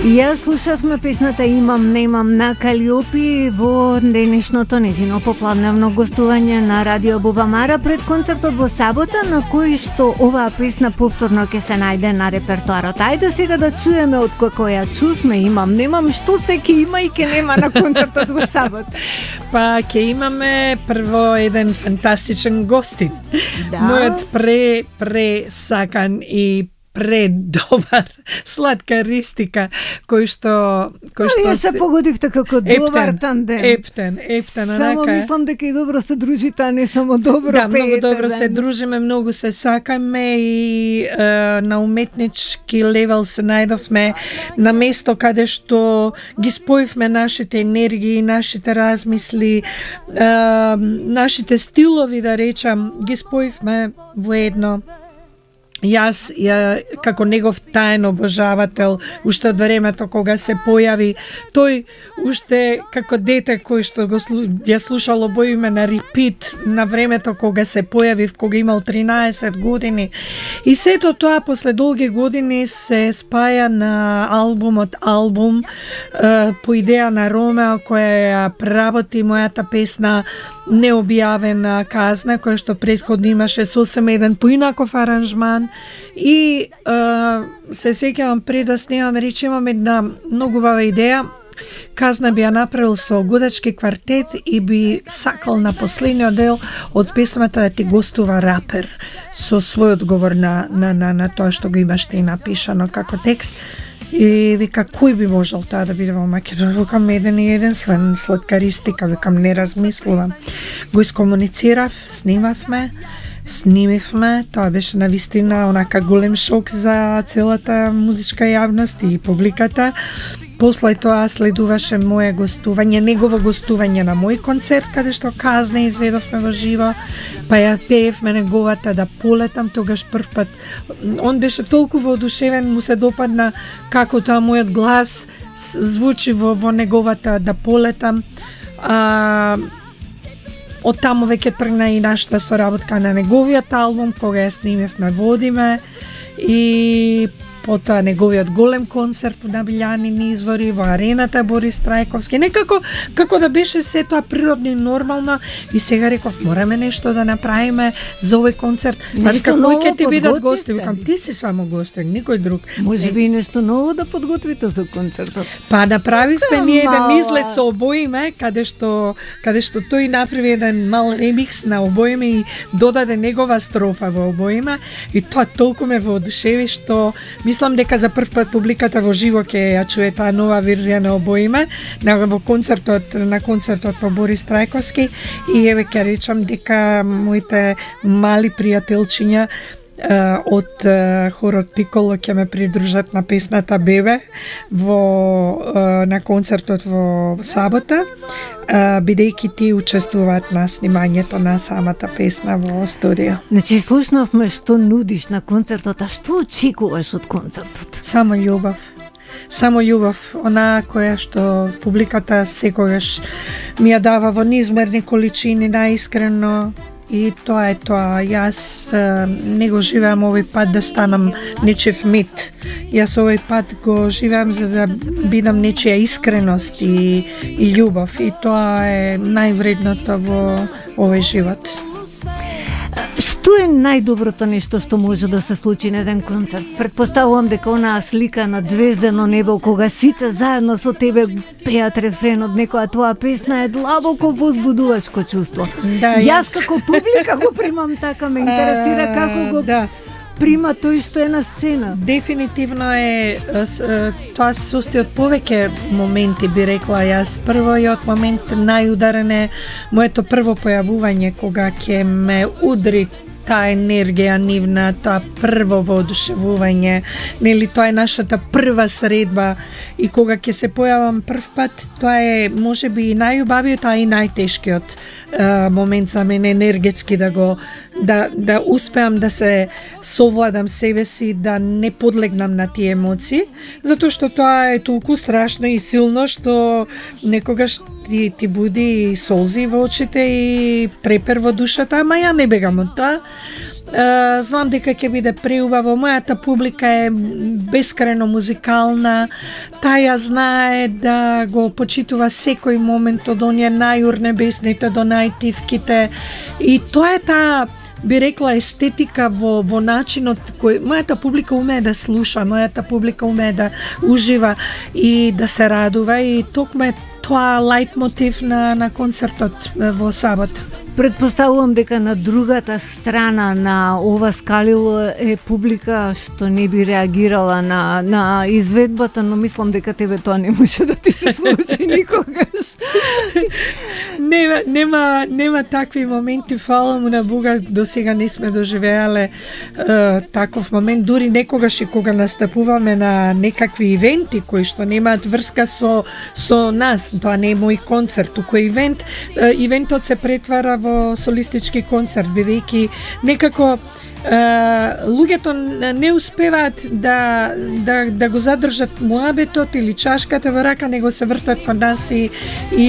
Ја слушавме песната Имам, немам на Калиопи во денешното незино поплавневно гостување на Радио Бубамара пред концертот во сабота, на кој што оваа песна повторно ќе се најде на репертоарот. Ајде сега да чуеме од кој ја чувме Имам, немам, што се ќе има и ќе нема на концертот во сабота. Па ќе имаме прво еден фантастичен гостин. Да. Мојот пре сакан и предобар сладкаристика кој што Ја се погодивте како добар тандем. Ептен, Само мислам дека и добро се дружите, а не само добро пеете. Да, многу пеете, добро се дружиме, многу се сакаме и на уметнички левел се најдовме на место каде што ги споивме нашите енергии, нашите размисли, нашите стилови, да речам, ги споивме во едно. Јас, како негов таен обожавател, уште од времето кога се појави, тој уште како дете кој што ја слушал обоиме на репит на времето кога се појави, кога имал 13 години. И сето тоа после долги години се спаја на албум по идеја на Ромео, која ја преработи мојата песна Необјавена казна, која што претходно имаше сосем еден поинаков аранжман. И се сеќавам пред да снимаме, рече имам една многу убава идеја. Казна би ја направил со годачки квартет и би сакал на последниот дел од песмата да ти гостува рапер со свој одговор на тоа што го имаш ти напишано како текст. И вика, кој би можел таа да биде во Македонија? Викам, еден сладкаристика, викам, не размислувам. Го искомуницирав, снимивме, тоа беше навистина онака голем шок за целата музичка јавност и публиката. После тоа следуваше моје гостување, негово гостување на мој концерт, каде што Казна изведовме во живо, па ја пеевме неговата Да полетам, тогаш прв пат. Он беше толку воодушевен, му се допадна како тоа мојот глас звучи во неговата Да полетам. Од таму веќе тргна и нашата соработка на неговиот албум, кога ја снимевме Водиме, и потоа неговиот голем концерт на Билјанини извори во арената Борис Трајковски. Некако како да беше се тоа природно и нормално, и сега реков мораме нешто да направиме за овој концерт. Нешто кој ќе ти бидат подготвите? гости? Викам, ти си само гостин, никој друг. Може би нешто ново да подготвите за концертот. Па направивме ние еден Мала. излет со Обоиме, каде што тој направи еден мал ремикс на Обоиме и додаде негова строфа во Обоиме, и тоа толку ме воодушеви што мислам дека за прв пат публиката во живо ќе ја чуе таа нова верзија на Обоиме на концертот во Борис Трајковски. И еве ќе речам дека моите мали пријателчиња од хорот Пиколо ќе ме придружат на песната Бебе на концертот во сабота, бидејќи ти учествуваат на снимањето на самата песна во студио. Значи, слушнавме што нудиш на концертот, а што очекуваш од концертот? Само љубов, она која што публиката секогаш ми ја дава во неизмерни количини, најискрено. И тоа е тоа. Јас не го живеам овој пат да станам нечев мит. Јас овој пат го живеам за да бидам нечија искреност и љубов. И тоа е највредното во овој живот. Што е најдоброто нешто што може да се случи на еден концерт? Предпоставувам дека онаа слика на звездено небо, кога сите заедно со тебе пеат рефренот некоја тоа песна, е длабоко возбудувачко чувство. Да, Јас како публика го примам така, ме интересира како го прима тој што е на сцена. Дефинитивно е тоа се состои од повеќе моменти, би рекла јас. Првиот момент најударен е моето прво појавување, кога ќе ме удри таа енергија нивна, тоа прво воодушевување, нели тоа е нашата прва средба, и кога ќе се појавам прв пат, тоа е можеби и најубавиот, а и најтешкиот момент за мене енергетски да успеам да се совладам себе си, да не подлегнам на тие емоции, затоа што тоа е толку страшно и силно што некогаш ти буди солзи во очите и трепер во душата, ама ја не бегам од тоа. знам дека ќе биде преубаво. Мојата публика е бескрајно музикална. Таја знае да го почитува секој момент од оние најурнебесните до најтивките. И тоа е таа, би рекла, естетика во начинот кој мојата публика умее да слуша, мојата публика умее да ужива и да се радува, и токму е тоа лајтмотив на концертот во сабота. Предпоставувам дека на другата страна на ова скалило е публика што не би реагирала на изведбата, но мислам дека тебе тоа не може да ти се случи никогаш. Нема такви моменти, фала му на Бога, до сега не сме доживеале таков момент, дури некогаш и кога настапуваме на некакви ивенти кои што немаат врска со нас, тоа не е мој концерт, туку ивент, ивентот се претвара во солистички концерт, бидејќи некако луѓето не успеваат да го задржат муабетот или чашката во рака, него се вртат кон нас и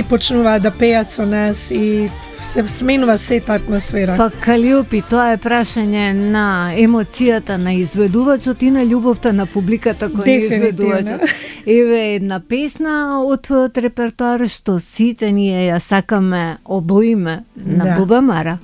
почнуваат да пеат со нас и се сменува сета атмосфера. Па Калиопи, тоа е прашање на емоцијата на изведувачот и на љубовта на публиката која изведувачот. Еве една песна од твојот репертоар што сите ние ја сакаме обоиме на Буба Мара.